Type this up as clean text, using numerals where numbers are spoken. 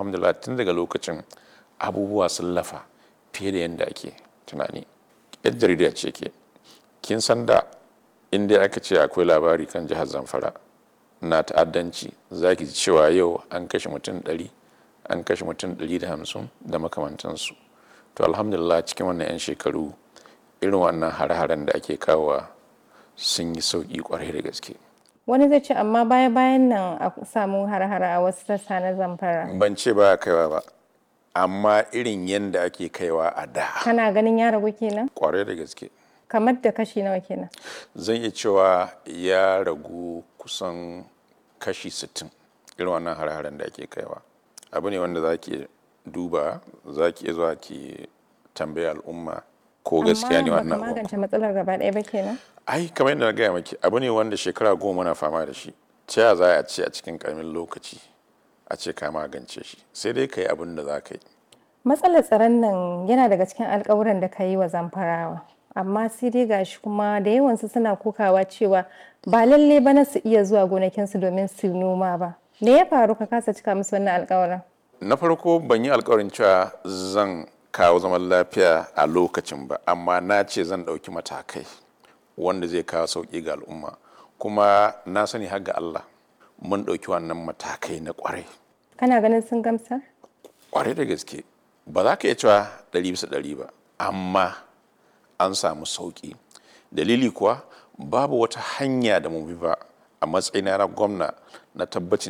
Alhamdulillah, tun daga lokacin abubuwa sun lafa fiye da yadda ake tunani. Yar jarida ce ke. Kin san da in dai aka ce akwai labari kan jihar Zamfara na ta'addanci, za ki ji cewa yau an kashe mutum 100, an kashe mutum 150 da makamantansu. To alhamdulillah, cikin wannan 'yan shekaru irin wannan hare-haren da ake kawowa sun yi sauƙi kwarai da gaske. Wani zai ce amma baya-bayan nan a samu har-hare a wasu sassa na Zamfara. Ban ce ba kaiwa ba, amma irin yadda ake kaiwa a da. Kana ganin ya ragu kenan? Kwarai da gaske. Kamar da kashi nawa kenan? Zan iya cewa ya ragu kusan kashi 60 irin wannan har-haren da ake kaiwa. Abu ne wanda za ki duba, za ki iya zuwa ki tambayi al'umma ko gaskiya ne wannan Amma baka abu. magance matsalar gaba ɗaya ba kenan? Ai kamar yadda na gaya maki, abu ne wanda shekara 10 muna fama da shi. Ta ya za a ce a cikin ƙaramin lokaci a ce ka magance shi? Sai dai ka yi abin da za ka yi. Matsalar tsaron nan yana daga cikin alkawuran da ka yi wa Zamfarawa. Amma sai dai gashi kuma da yawansu suna kokawa cewa ba lalle bana su iya zuwa gonakinsu domin su noma ba. Me ya faru ka kasa cika musu wannan alkawuran? Na farko, ban yi alkawarin cewa zan kawo zaman lafiya a lokacin ba, amma na ce zan ɗauki matakai wanda zai kawo sauƙi ga al'umma. Kuma na sani har ga Allah mun ɗauki wannan matakai na ƙwarai. Kana ganin sun gamsar? Ƙwarai da gaske. Ba za ka iya cewa 100% ba, amma an samu sauƙi. Dalili kuwa, babu wata hanya da mu bi ba a matsayina na gwamna na tabbacin